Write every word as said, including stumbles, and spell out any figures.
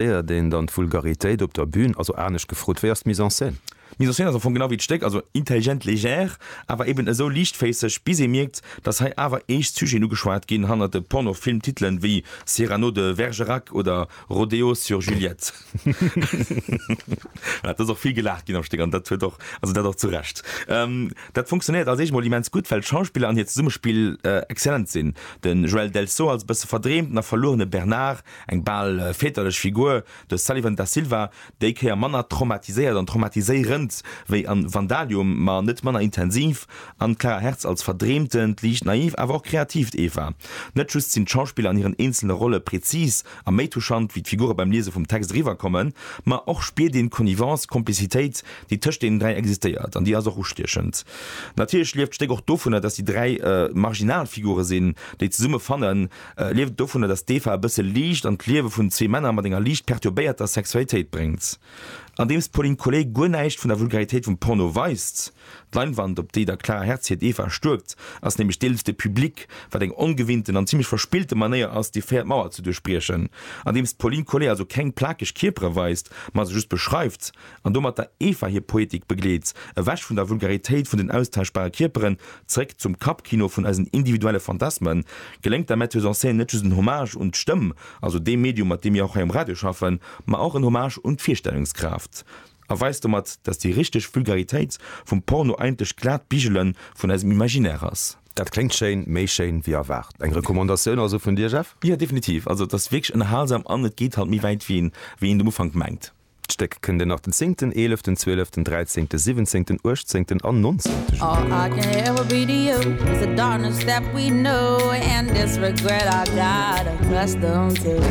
Éiert een dann d'Vulgaritéit op der Bühn? Also anescht gefrot, wéi ass d'Mise en scène? D'Mise en scène ass am Fong genau wéi d'Stéck, also intelligent, légère, awer eben esou liichtféisseg, bis ee mierkt, dass hei awer eescht Sujeten ugeschwat ginn hannert de Pornofilm-Titelen wéi Cyrano de Bergerac oder Rodéo sur Juliette. Voilà, et ass och vill gelaacht ginn am Stéck an dat huet och, also dat och zu Recht. Dat funktionéiert als éischt mol immens gutt, well d'Schauspiller an hiert Zesummespill exzellent sinn. De Joël Delsaut als e bësse verdreemten a verluerene Bernard, eng bal väterlech Figur, de Sullivan Da Silva, déi Kéier manner traumatiséiert an traumatiséierend wéi an Vandalium, ma net manner intensiv, an d'Clara Hertz als verdreemtent, liicht naiv, awer och kreatiivt Eva. Net just sinn d'Schauspiller an hiren eenzelne Rolle prezis a méi touchant wéi d'Figure beim Liese vum Text eriwwerkommen, ma och spiert een d'Connivence, d'Komplizitéit, déi tëscht deenen dräi existéiert, an déi ass och ustiechend. Natierlech lieft d'Stéck och dovunner, dass déi dräi marginal Figure sinn, déi zesumme fannen, lieft et dovunner, dass d'Eva e bësse Liicht an d'Liewe vun zwee Männer mat enger liicht perturbéierter Sexualitéit bréngt. Andeems d'Pauline Collet guer näischt vun der Vulgaritéit vum Porno weist. D'Leinwand, op déi der Clara Hertz hiert Eva stuerkt, ass nämlech deels de Public, wat eng ongewinnten an zimmlech verspillte Manéier ass, déi véiert Mauer ze duerchbriechen. Andeems d'Pauline Collet also keng plakeg Kierpere weist, ma se just beschreift an domat der Eva hir Poetik begleet, ewech vun der Vulgaritéit vun den austauschbare Kierperen, zeréck zum Kappkino vun eisen individuelle Phantasmen, geléngt der Metteuse en scène net just en Hommage un d'Stëmm, also dee Medium, mat deem mir och hei um Radio schaffen, ma och en Hommage un d'Virstellungskraaft a weist domat, dass déi richteg Vulgaritéit vum Porno eigentlech glat Bigele vun eisem Imaginaire ass. Dat kléngt schéin, méi schéin wéi erwaart. Eng Recommandatioun also vun dir, Jeff? Jo, definitiv. Also et ass wierklech ënnerhalsam an et geet halt méi wäit wéi een wéi een um Ufank mengt. D'Stéck kënnt een nach den zéngten, eeleften, zwieleften, dräizéngten, siwwenzéngten, uechtzéngten an nonzéngte Juli kucken.